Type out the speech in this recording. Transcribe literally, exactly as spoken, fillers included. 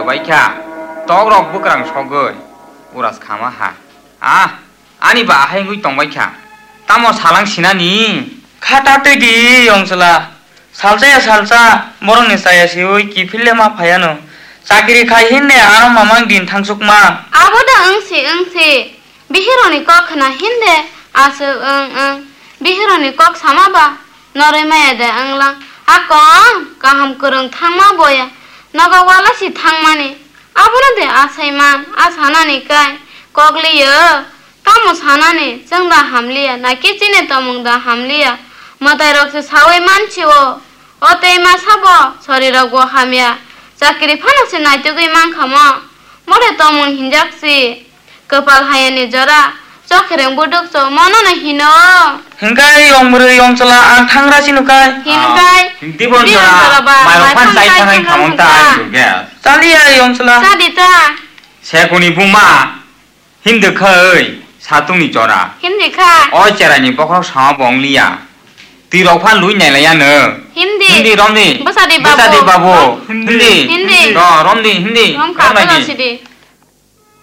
Baikha, tokrok bwkrang sogwi uras khama ha. Ah, ani ba ahai wngwi tongbaikha. Tamo salang sinani? Kha ta twi di, yong chwla. Salsa ya salsa, borokni chaya siwi kiphil le ma phaiano. Chakri khai hinde ano mamang din thangsukma. Abo da wngsi, wngsi. Bihironi kok khna hinde aswk wng wng. Bihironi kok sama ba noroi maya de wnglang. A kong kaham kwrwng thangma boya. Nogo wala si thangmani. Abono de asai man, a sanani kai. Kok liyo. Tamo sanani, chwng da hamliya, na khe chini tongmung da hamliya? Mwtairok se saui mansi-o. O tei ma sabo, sorirok bo hamya. Chakri phano se naitugwi mankha mo. More tongmung hinjak si. Kwpal hayani jora, chokhereng buduk cho, mono no hino. Hinkai yong bwrwi yong chwla, ang thangra si nukai. Hinkai, Ah, hindi bon bini chwla, jora ba, mairok mai phan phang chai kai thangai thang khamang thang ta thang. Ayo gas. Chaliya yong chwla. Chadi ta. Sekuni buma. Hindi kha oi, satungni chora. Hindi kha. O cheraini bokhorok sama bo wng liya. Twi rok phan lui nai laiya no. Hindi. Hindi romdi. Bwsadi babu. Bwsadi babu. Hindi. Hindi. Hindi. Ro, romdi, hindi. Rom kha, romdi. Bwsadi.